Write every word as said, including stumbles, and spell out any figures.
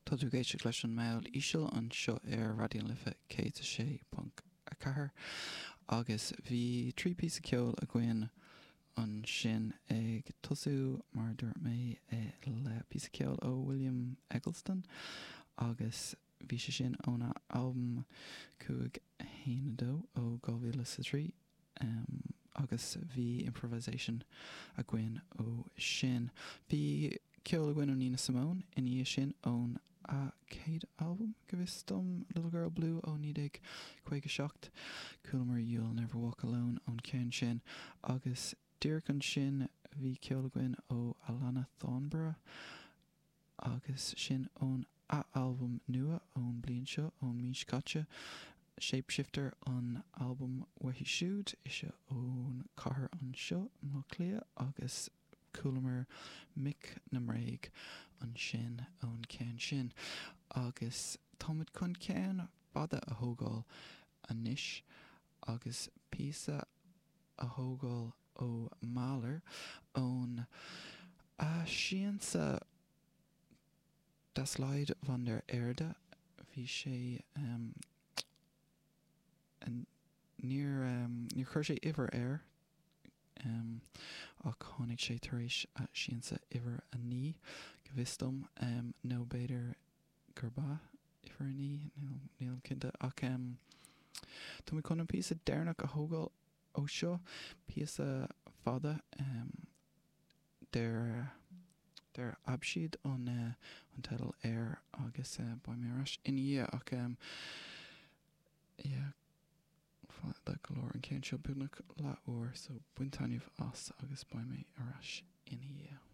Tá tú ag éisteacht leis an Meall Íseal anseo ar Raidió na Life céad a sé ponc a ceathair agus bhí trí píosa ceoil againn ansin ag tosú mar dúirt mé le píosa ceoil ó William Eggleston agus bhí sé sin óna albam cúig a haon a dó ó dhá mhíle is a trí agus bhí improvisation againn ó sin. Bhí ceol againn ó Nina Simone ina dhiaidh sin ón a céad albam go bhfios dom Little Girl Blue ó naoi déag caoga seacht, Chualamar You'll Never Walk Alone ón ceann sin agus díreach ansin bhí ceol againn ó Alannah Thornborough agus sin ón a albam nua ón bliain seo ón mí seo caite Shapeshifter an albam uaithi siúd ise ón cathair anseo i mBaile Átha Cliath agus chualamar Mic na mBréag ansin ón ceann sin agus táimid chun ceann fada a thógáil anois agus píosa a thógáil ó Mahler ón a siansa Das Lied von der Erde bhí sé um, níor um, níor chuir sé uimhir air um, ach tháinig sé tar éis a siansa uimhir a naoi go bhfios dom um, nó b'fhéidir gurb ea uimhir a naoi níl cinnte ach um, Tá mé chun an píosa deireanach a thógáil ó seo píosa fada um, der der Abschied an uh, an teideal air agus uh, beidh mé ar ais ina dhiaidh ach um, yeah, fada go leor an ceann seo beagnach leathuair so bain taitneamh as agus beidh mé ar ais ina dhiaidh.